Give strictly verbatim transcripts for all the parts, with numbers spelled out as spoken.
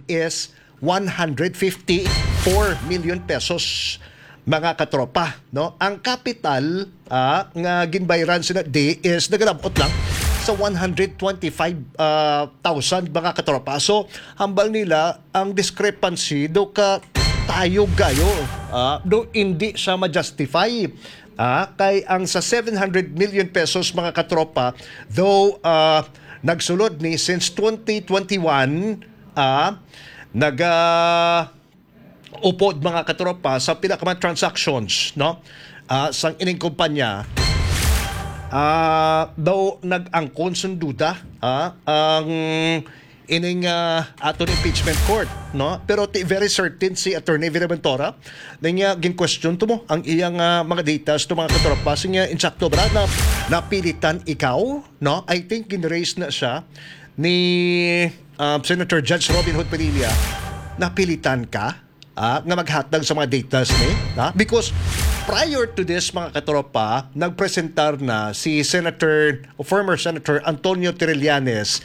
is one hundred fifty-four million pesos, mga katropa, no? Ang kapital, ah, nga ginbayran sina D is nagalabot lang sa one hundred twenty-five, ah, thousand, mga katropa. So, hambal nila ang discrepancy do ka tayo gayo, ah, do hindi siya ma-justify. Ah, kay ang sa seven hundred million pesos, mga katropa, though, ah, nagsulod ni since twenty twenty-one, ah, naga upod, mga katropa, sa pila ka mga transactions, no? Ah, sang ining kumpanya, ah, daw nag-angkon sang duda, ah, ang ining, ah, aton impeachment court, no? Pero ti very certain si Attorney Vinaventura, niya gin-question to mo ang iyang, ah, mga datas to, mga katropa. Siya, insakto ba na napilitan ikaw, no? I think gin-raise na siya ni, ah, Senator Judge Robin Hood Padilla, napilitan ka, ah, nga maghatag sa mga datas ni, ha? Because prior to this, mga katropa, nagpresentar na si Senator, former Senator Antonio Trillanes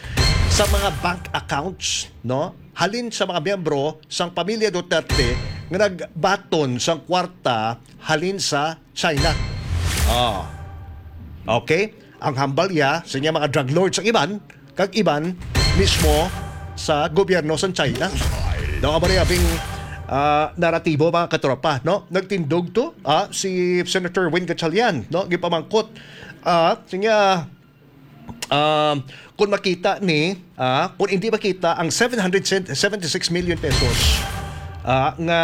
sa mga bank accounts, no? Halin sa mga miyembro sang pamilya Duterte nga nagbaton sang kwarta halin sa China. Ah. Okay? Ang hambal iya sa mga drug lords ang iban, kag iban mismo sa gobyerno sa China. No, amo ni abing, ah, naratibo, mga katropa, no? Nagtindog to, ah, si Senator Win Gatchalian, no? Gipamangkot, ah, siya, ah, kung makita ni, ah, kung hindi makita ang seven hundred seventy-six million pesos, ah, nga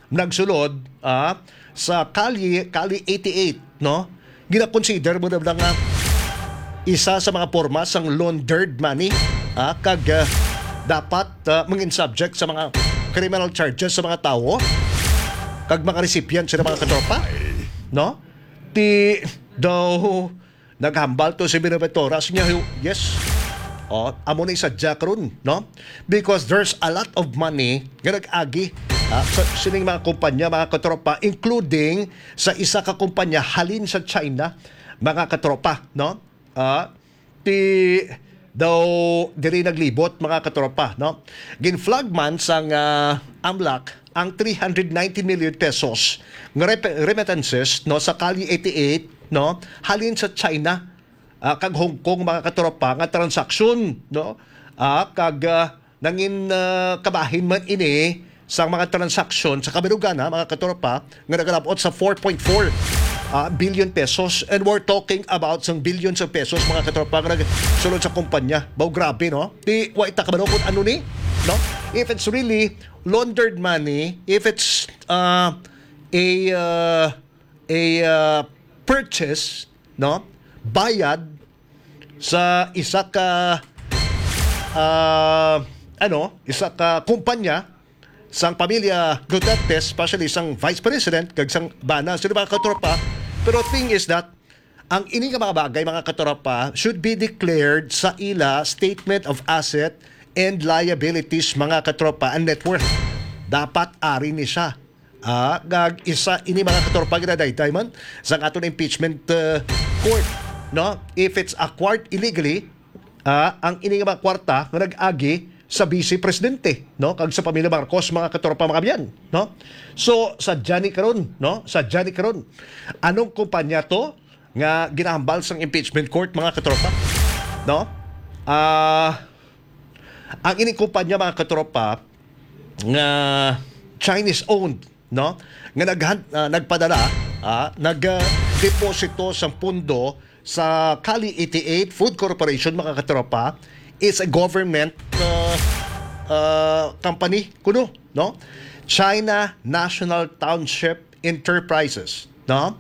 nagsulod, ah, sa Kali, Kali eighty-eight, no? Gina-consider mo na lang nga isa sa mga porma sang laundered money, ah, kag, ah, dapat, ah, mangin subject sa mga criminal charges sa mga tawo kag mga recipient sila, mga katropa, no? Ti daw naghambal to si Binaventura, siya, yes. Oh, amo na sadya karon, no? Because there's a lot of money nga nag-agi, ah, sa sining mga kumpanya, mga katropa, including sa isa ka kumpanya halin sa China, mga katropa, no? Ah, ti daw diri naglibot, mga katropa, no? Gin-flag man sang, ah, AMLAC ang three hundred ninety million pesos nga rep-, remittances, no, sa Kali eighty-eight, no, halin sa China, ah, kag Hong Kong, mga katropa, nga transaksyon, no? Ah, kag, ah, nangin, ah, kabahin man ini sa mga transaksyon sa kabilugan, ha, mga katropa, nga nagalabot sa four point four, ah, billion pesos. And we're talking about sang billions of pesos, mga katropa, nga nagsulod sa kumpanya. Baw, grabe, no? Ti, wa ita kabalo kung ano ni, no? If it's really laundered money, if it's, uh, a, uh, a, uh, purchase, no? Bayad sa isa ka, uh, ano, isa ka kumpanya sang pamilya Duterte, especially sang Vice President kag sang bana, sila, mga katropa. Pero thing is that, ang ini nga mga bagay, mga katropa, should be declared sa ila statement of asset and liabilities, mga katropa, and net worth. Dapat ari ni siya. Ah, kag isa ini, mga katropa, ginadayday man sang aton impeachment, uh, court, no? If it's acquired illegally, ah, ang ini nga mga kwarta nga nag-agi sa Vice Presidente, no? Kag sa pamilya Marcos, mga katropa, mga kabyan, no? So, sadya ni karon, no? Sadya ni karon. Anong kumpanya to nga ginahambal sang impeachment court, mga katropa? No? Ah, ang ining kumpanya, mga katropa, nga Chinese owned, no? Nga naghan-, ah, nagpadala, ah, nag, ah, deposito sang pondo sa Kali eighty-eight Food Corporation, mga katropa, is a government, ah, ah, company kuno, no? China National Township Enterprises, no?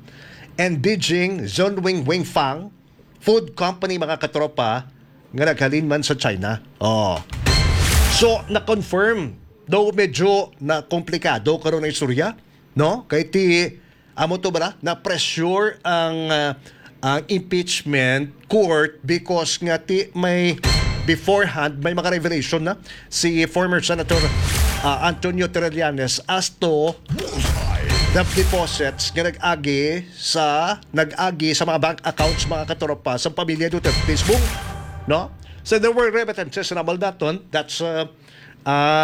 And Beijing Zhongwing Wingfang Food Company, mga katropa, nga naghalin man sa China. Oh. So, na-confirm, though medyo na komplikado karon ang istorya, no? Kay ti, amo to ba na? Na-pressure ang, ah, ang impeachment court because nga ti may beforehand, may mga revelation na si former Senator, ah, Antonio Trillanes as to the deposits nga nag-agi sa, nag-agi sa mga bank accounts, mga katropa, sa pamilya Duterte mismo, no? So there were remittances na maldaton. That's, uh, Ah,